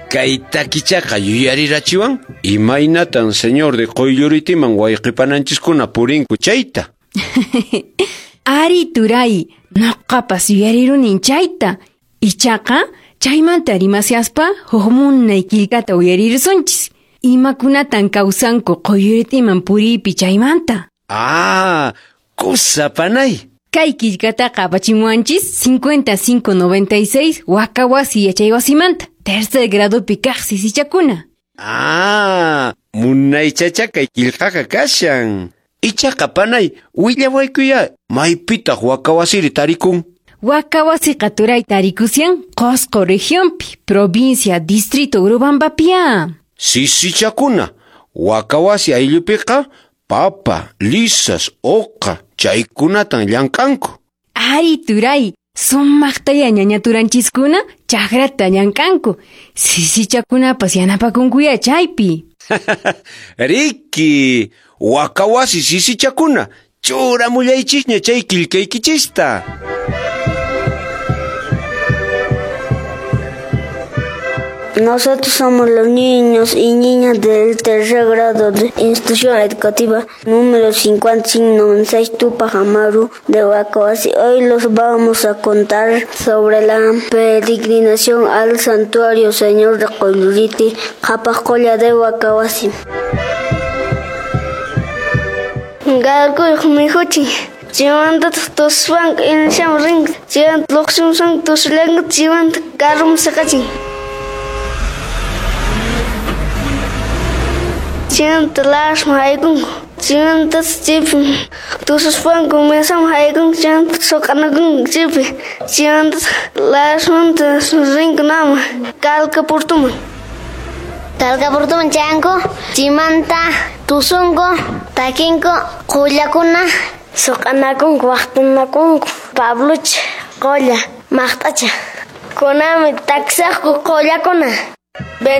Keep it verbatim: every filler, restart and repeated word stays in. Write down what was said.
Kay takichaqa yuyarirachiwan imaynatan señor de Qoylluritiman wayqipananchiskuna purinku chayta. Ari turay, noqapas yuyarirunin chayta. Ichaqa chaymanta rimasiaspa huk munay qillqata uyarirusunchis. Imakunatan kawsanku Qoylluritiman puriypi chaymanta. Ah, kusa panay. Kay qillqataqa apachimuwanchis cincuenta y cinco noventa y seis Wakawasi yachaywasimanta, tercer gradupi kaq sisichakuna. Ah, munaychacha kay qillqaqa kashan. Ichaqa panay, willawaykuya, maypitaq Wakawasiri tarikun? Wakawasiqa turay tarikusian Qosqo regionpi, provincia, distrito Urubambapia. Sisichakuna, Wakawasi ayllupiqa papa, lisas, oqa, chaykunatan llank'anku. Ari turay, sumaqtaya ñañaturanchiskuna chakrata llank'anku. Sisichakunapas yanapakunkuya chaypi. Riki, Wakawasi sisichakuna, churamullaychisña chay qillqaykichista. Nosotros somos los niños y niñas del tercer grado de institución educativa número cincuenta y cinco noventa y seis Tupac Amaru de Huacahuasi. Hoy los vamos a contar sobre la peregrinación al santuario Señor de Qoylluriti, Qhapaqcolla de Huacahuasi. Garkuy mijuchi. Chimanta tuswan insham ring, chimanta luqshum tuslang, chimanta karum saqachin. Chimanta lashma haykunku, chimanta chipi, tususpanku mesam haykunku, chimanta soqanakunku chipi, chimanta lashmanta rinku nama, kalka purtuman. Kalka purtuman chanku, chimanta tusunku, takinku, qullakuna, soqanakunku, waqtanakunku, Pablucha, qolla, maqt'acha. Kunami taksaqku qollakuna.